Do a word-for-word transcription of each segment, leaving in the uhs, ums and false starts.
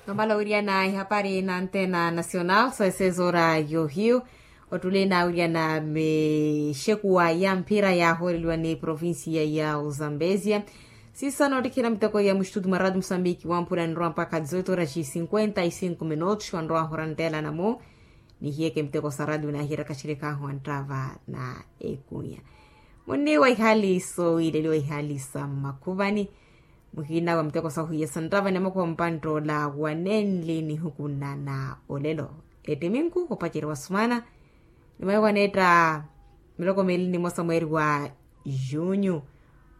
Nomala wiriana ihapari na antena nacional so esezoora yohiyu. Ottule na wiriana mixekuwa ya mphira yahooreliwa ni provincia ya uzambezia. Sisa noottikhina miteko ya mustutu mwa radio musambiki wamphula nrowa mpakha dizoito horas cinquenta y cinco minutos wanrowa hora nteela namu. Nihiyeke miteko sa radio nahiyeraka xirikhahu anttava na ekunya. Munniwa ihali sowiileliwa ihali sa mmakhuvani. Muhina wa miteko sahu ya santtava ni amakhuwa mpanttoola wanenli nihukunana olelo. Ettiminku opacerya wa sumana. Ni maiwa neetta miloko miili ni mosa mweeri wa junyu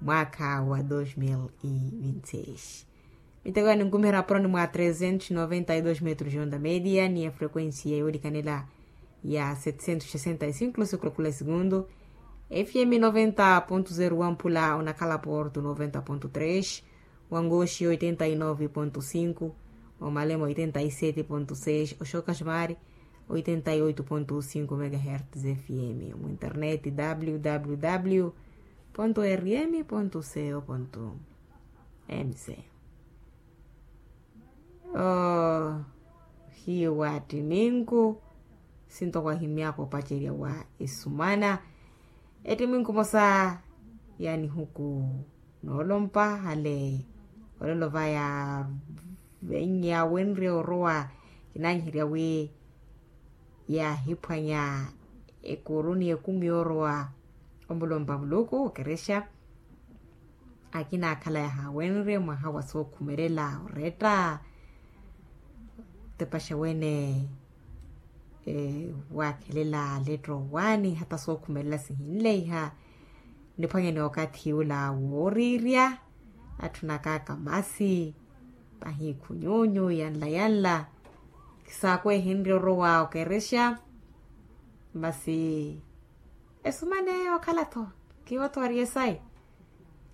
mwaakha wa dos mil e vinti seis. Miteko ya ninkumiherya aporoni mwa trezentos noventa e dos metros onda media ni ya frequencia yoolikanela ya setecentos sesenta e cinco losikulo kula segundu. Fm noventa ponto zero wa mpula onakhala porto noventa ponto tres, wa ngoxi oitenta e nove ponto cinco, wa malema oitenta e sete ponto seis, oxoka ximari oitenta e oito ponto cinco megahertz fm. Mu internet www ponto rm ponto co ponto mz. Ohiyu wa ttiminku sintoko ahimyaka opacerya wa esumana. Ettiminku mosa ya nihuku noolompa hale olelo va yaawenrye orowa kinanyiherya wi yaahiphwanya ekuru ni ekumi yoorowa omulompa muluku okerexa. Akina akhala yahaawenrye mwaha wa sookhumelela oretta otepaxa wene waakhelela letto owaani hata sookhumelela sihinleiha. Niphwanye ni okathi ula wooriirya atthunakaka masi pahi khunyuunyu yanla yanla. Kisaakwehenrye orowa okerexa masi esumane okhala-tho kiwo-tho ari esayi.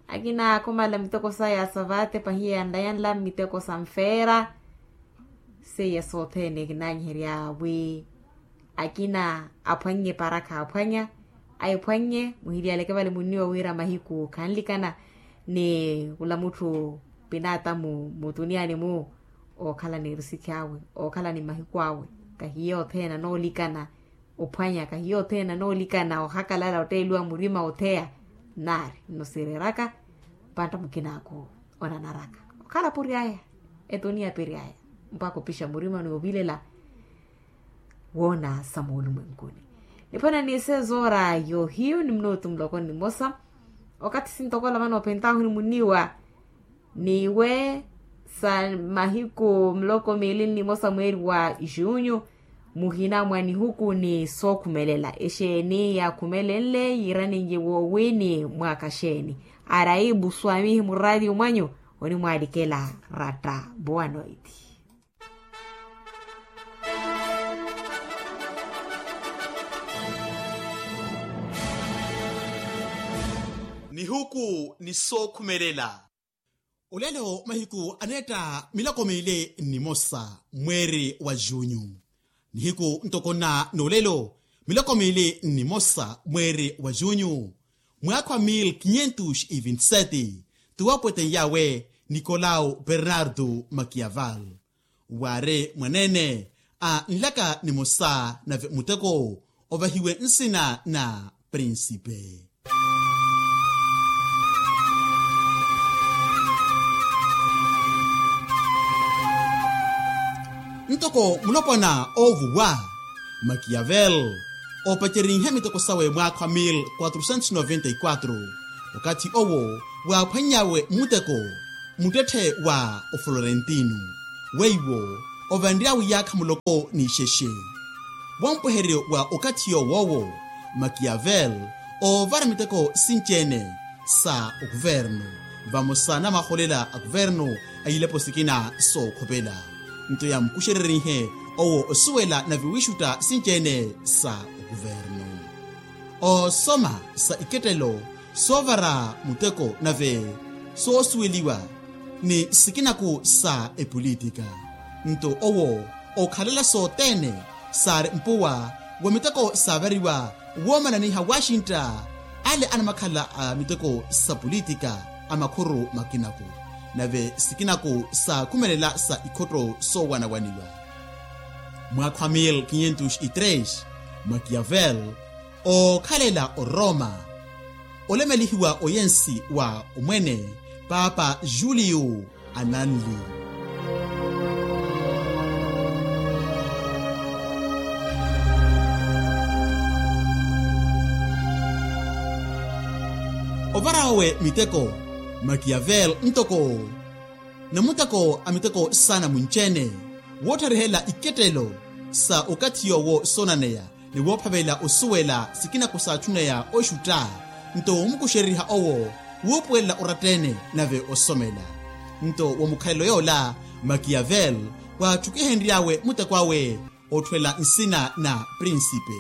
Akina akhumala miteko saya sa vate pahiya yanla yanla miteko sa nfeera. Seiya sothene kinanyiherya wi akina aphwannye para khaaphwanya. Ayiphwannye muhiliyaleke vale munniwa wira mahiku khanlikana ni khula mutthu pinatamu mutuniyani-mu ookhala ni erusikhi awe ookhala ni mahiku awe. Kahiyo othene anoolikana ophwanya kahiyo othene anoolikana ohakalala otteeliwa murima otheya. Naari nno siireraka mpantta mukinaakhu onanaraka okhala puri aya etuniya piri aya mpakha opixa murima ni ovilela woona sa moolumwenkuni. Niphwanya ni sezoora yohiyu ni minutu muloko ni mosa okathi sintokola vano opentahu ni muniwa. Niwe sa mahiku miloko miili ni mosa mweeri wa junyu muhina mwa nihuku ni sookhumelela exeeni yaakhumelenle yiiraninye woowini mwaaka xeeni? Araibu swamihi muraati omwanyu onimwalikela ratta. Boa noiti. Nihuku ni sookhumelela. Olelo mahiku aneetta miloko miili ni mosa mweeri wa junyu. Nihiku ntoko nna n'olelo miloko miili ni mosa mweeri wa junyu mwaakha wa mil quinhentos e vinte sete. Tuwapwete yawe nicolau bernardo makiaval waari mwaneene a nlaka nimosa nave muteko ovahiwe nsina na prinsipe. Ntoko mulopwana oovuwa makiavel oopacerinhe miteko sawe mwaakha wa mil quatrocentos noventa e quatro. Okathi owo waaphwannyawe muteko muttetthe wa oflorentino weiwo ovanry'awe iyaakha muloko n'ixexe. Wampuheryo wa okathi yowoowo makiavel oovara miteko sinci-ene sa okuvernu vamosa na maholela a kuvernu a ilepo sikina sookhopela. Nto yamkuxererihe owo osuwela na viwixutta sinci-ene sa okuvernu oosoma sa ikettelo soovara muteko nave soosuweliwa ni sikinaku sa epolitika. Nto owo ookhalela sothene saari mpuwa wa miteko saavariwa woomananiha waxintta ale anamakhala a miteko sa politika a makhuru makinaku. nave sikinaku saakhumelela sa ikhotto soowanawaniwa. Mwaakha wa mil quinhentos e três, makiavel ookhalela oroma, olemelihiwa oyensi wa omwene paapa julio ananli. Ovara owe miteko, makiavel ntoko namuteko a miteko saana munci-ene woottharihela ikettelo sa okathi yoowo soonaneya ni woophavela osuwela sikinaku saatthuneya oxutta. Nto womukuxereriha owo wuupuwelela oratta-ene nave osomela. Nto wa mukhalelo yoola, makiavel waatthukihenry'awe muteko awe otthuwela nsina na prinsipe.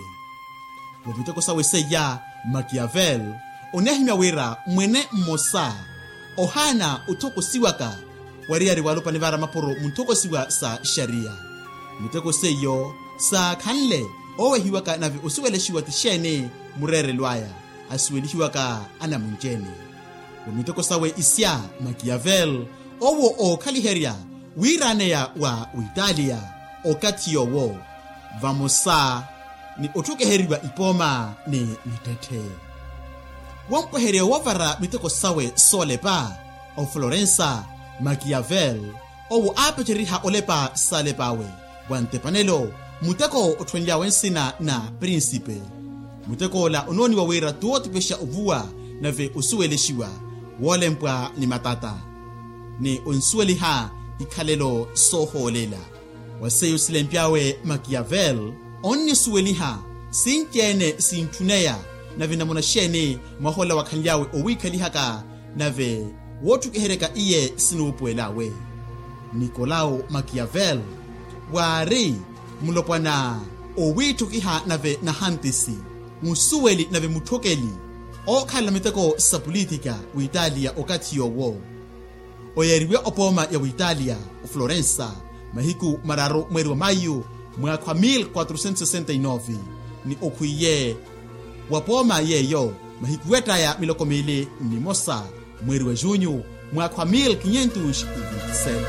Wa miteko sawe seiya, makiavel oneehimya wira mwene mmosa ohaana otthokosiwaka wariyari waalupani vaara mapuro munthokosiwa sa xariya. Miteko seiyo saakhanle oowehiwaka nave osuwelexiwa ti xeeni mureerelo aya asuwelihiwaka anamunci-ene. Wa miteko sawe isya, makiavel owo ookhaliherya wiiraneya wa witalia okathi yoowo vamosa ni otthukiheriwa ipooma ni mittetthe. Wompweherya woovara miteko sawe soolepa, oflorensa, makiavel owo aapacereriha olepa saalep'awe wa ntepanelo, muteko otthuwenly'awe nsina na prinsipe. Muteko ola onooniwa wira tootipexa ovuwa nave osuwelexiwa woolempwa ni matata ni onsuweliha ikhalelo soohoolela. Wa seiyo silempy'awe makiavel onnisuweliha sinci-ene sintthuneya nave namuna xeeni mwaha ola wakhanly'awe owiikhalihaka nave woottukiheryaka iye sinuupuwel'awe. Nikolao makiavel waari mulopwana owiitthukiha nave nahantisi, musuweli nave mutthokeli ookhalela miteko sa pulitika witalia okathi yoowo. Oyeeriwe opooma ya witalia oflorensa mahiku mararu mweeri wa mayu mwaakha wa mil quatrocentos sessenta e nove, ni okhwiiye wa pooma yeeyo mahiku wettaya miloko miili nnimosa mweeri wa junyu mwaakha wa mil quinhentos e vinte e sete.